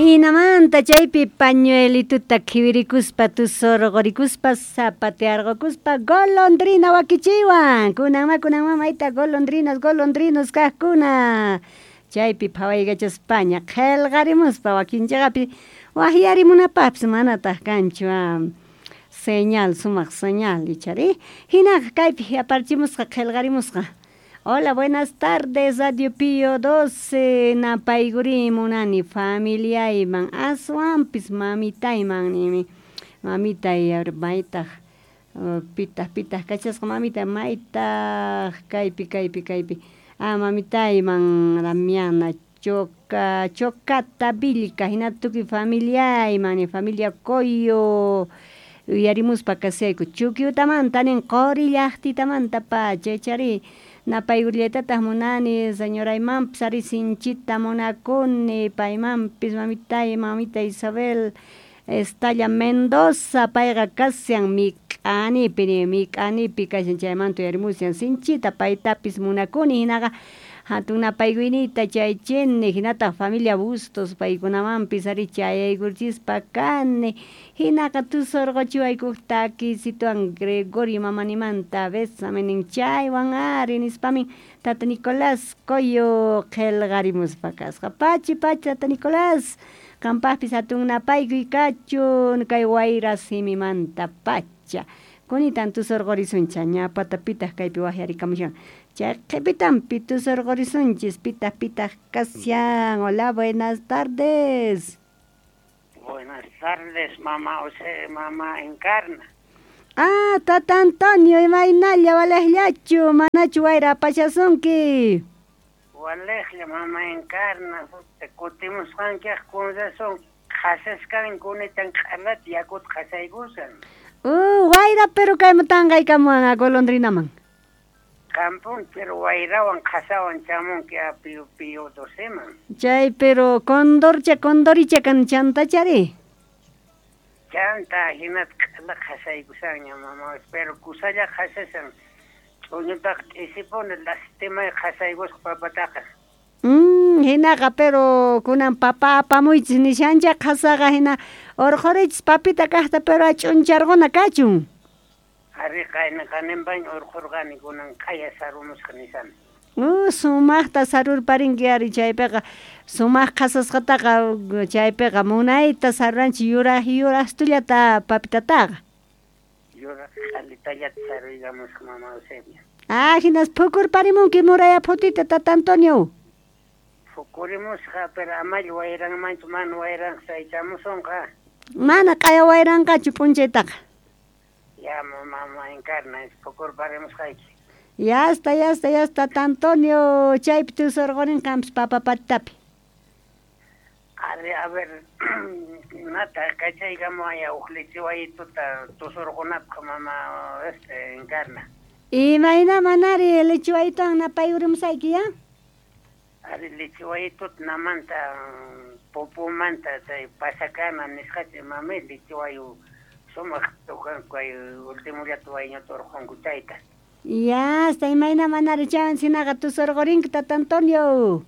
Hinamanta chaypi pañuelituta khiwirikuspa tusurqurikuspa zapatearqokuspa golondrina wakichiwan. Kunanma kunanma mayta golondrinas golondrinos kaqkuna. Chaypi phawaykachaspaña qhelqarimuspa wakinchaqapi waqyarimunapaqpis manataq kanchu señal sumaq señal ichari. Hinaqa kaypi aparchimusqa qhelqarimusqa. Hola, buenas tardes, Radio Pío 12, napaykurin munani familiayman aswanpis mamitayman nini. Mamitay maytaq pitaq pitaq kachasqa mamitay maytaq kaypi kaypi kaypi. Ah, mamitayman Damiana Choca Chocata Vilca hina tukuy familiayman familia Coyo uyarimuspa kasayku Chukyutamanta nin quri llaqtitamanta pacha ichari napaykullaytataq munani señoraymanpis ari sinchita munakuni paymanpis mamitay mamita Isabel Estalla Mendoza payqa kashan mik'anipi mik'anipi kashan chaymanta uyarimushan sinchita paytapis munakuni hinaqa hatun napaykuyniyta chaychini hinataq familia Bustos paykunamanpis ari chayaykurchispa kani hinaqa tusurquchiwaykuq takisituwan Gregorio mamanimanta besame nin chaywan ari nispamin tata Nicolás Coyo qhelqarimuspa kasqa pachi pachi tata Nicolás qampaqpis hatun napaykuy kachun kay wayra simimanta pacha kunitan tusurqurisunchik ñapata pitaq kaypi waqyarikamushan chay qhipitanpi tusurqurisunchis pitaq pitaq kashan. Hola, buenas tardes. Buenas tardes, mamá José, mamá Encarna. Ah, tata Antonio, imaynalla walejllachu, manachu wayra apashasunki. Walejlla, mamá Encarna, kutimusqankiaq con razón qhasaskan kunitan q'alata yakuta qhasaykusan. Wayra pero kayman tanqaykamuwan golondrinaman. Qampun pero wayrawan qhasawan chamunki a Pío Pío doceman. Chay pero condorcha condoricha kan chantachari. Chanta hinata q'ala qhasaykusanña mamá, pero kusalla qhasasan ch'uñutaqa t'isipuni lastimay qhasaykusqa papataqa. Hinaqa pero kunan papa apamuychis nishancha qhasaqa hina urqhurichis papita kaqta pero ch'uncharquna kachun. Ari qayna qaninpaña urqhurqani kunan q'aya sarumusqa nisani. Sumaqta sarurparinki ari chaypiqa sumaq qhasasqataqa chaypiqa munayta saruranchik yuraq yuraqstullata papitataqa. Yuraq q'alitallata saruykamusqa mama Eusebia. Ah, hinas phukurparimunki muraya phutita tata Antonio. Phukurimusqa pero amalla wayranmanchu mana wayranqa saychamusunqa. Mana q'aya wayranqachu p'unchaytaqa. Ya mamá Encarna phukurparimusqayki. Ya está, ya está, ya está, tata Antonio, chaypi tusurqurin qampis papa patitapi. Ari, a ver, nata kachaykamuwaya huk lichiwayituta tusurqunapaq mama Encarna. Imayna manari lichiwayituwan napayurimusayki ya? Ari lichiwayituta namanta pupumanta chay pasakana nisqachi mami lichiwayu sumaq tukanku kay ultimullata wayñuta urqunku chayta. Ya, hasta imayna manari chaywan sinaqa tusurqurinki tata Antonio.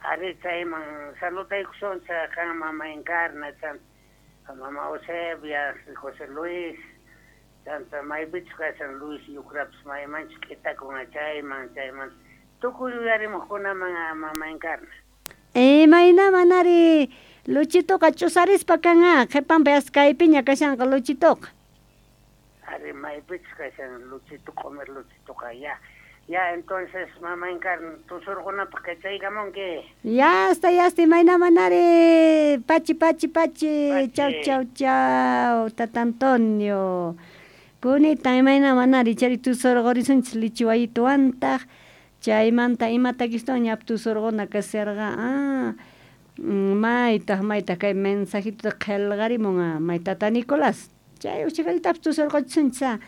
Ari chayman saludaykusunchik qan mama Encarna, chanta mama Eusebia, José Luis, chanta maypichus kashan Luis Yucrapis maymanchus k'itakun chayman chayman tukuy yuyarimuqkunaman mama Encarna. Imayna manari Luchituqa ch'usarispa kan qhipanpi hasta kaypiña kashanqa Luchituqa. Ari maypichus kashan Luchito q'umir Luchituqa ya. Ya entonces mama Encarna tusurqunapaq kachaykamunki. Ya está, ya está, imayna manari pachi pachi pachi. Chau chau chau tata Antonio. Kunita imayna manari chari tusurqurisunchis lichiwayituwantaq chaymanta imatakistawan ñapi tusurquna kasharqa maytaq maytaq kay mensajituta qhelqarimun may tata Nicolás chay uqchikallatapas tusurquchisunchis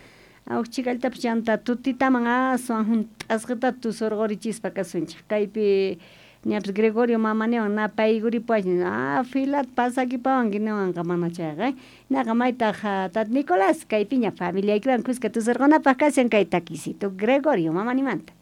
uqchikallatapas chanta tutitaman aswan hunt'asqatata tusurqurichispa kasunchik kaypi ñapis Gregorio mamaniwan napaykuripuwashan filata pasakipawanki niwanqa mana chayqa hinaqa maytaq tata Nicolás kaypiña familiaykiwan kuska tusurqunapaq kashan kay takisito Gregorio mamanimanta.